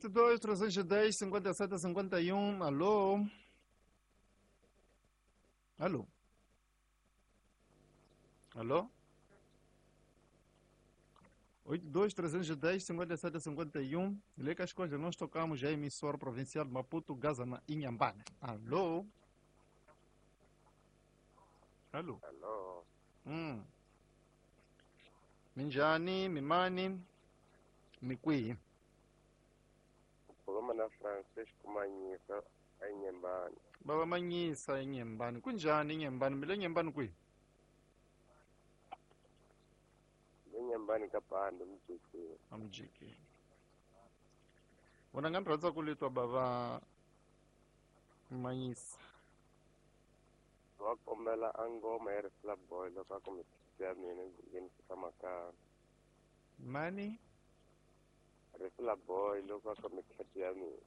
82 310 57 51. Alô? Alô? Alô? 82 310 57 51. Lê que as coisas nós tocamos a emissora provincial de Maputo, Gaza, na Inhambane. Alô? Alô? Alô. Minjani, mimani, mikwihi? Ukhuluma na Francisco Manyisa eNyembani. Baba Manyisa eNyembani. Kunjani eNyembani? Mile Nyembani kwihi? LeNyembani kaBhando mjikini. Amjikini. Vona nga ni rhandza ku litwa baba Manyisa. Wa kombela a ngoma ya Rifla Boy loko a ku mithithi ya mina yi nghenisa makaya. Mani? Rifla Boy loko a ku mikheto ya mina.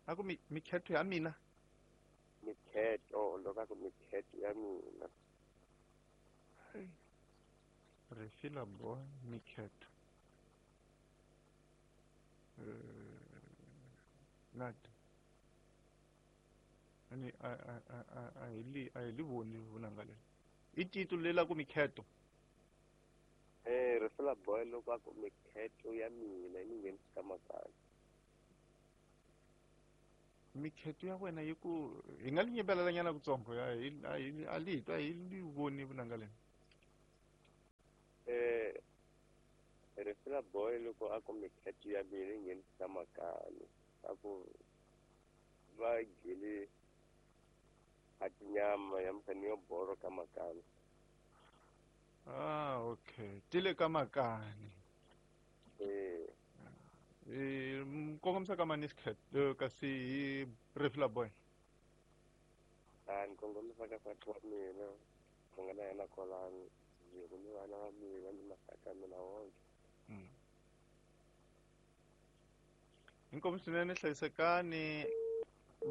A ku mikheto ya mina? Mikheto, loko a ku mikheto ya mina. Rifila Boy, mikheto. Lati. Ani a hi li a hi li voni vunanga leri. I titulu lela ku mikheto. Rifila Boy loko a ku mikheto ya mina yi nghenisa makaya. Mikheto ya wena yi ku hi nga li nyimbelela nyana kutsongo ya hi a hi a li a hi li voni vunanga leri. Rifila Boy loko a ku mikheto ya mina yi nghenisa makaya. A ku va gile a tinyama ya mfani yo boro ka makani. Ah, okay. Tile ka makani. Kongomisa ka mani xikheto kasi hi Rifila Boy. A ni kongomisa ka nsati wa mina, ku nga na yena kwalano, ni vana va mina ni maxaka ya mina wonke. Inkomu swinene, hlayisekani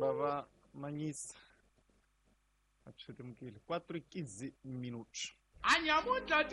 bava Manyisa. A swi lemukile. 4:15 minutos. Anyamuntlha.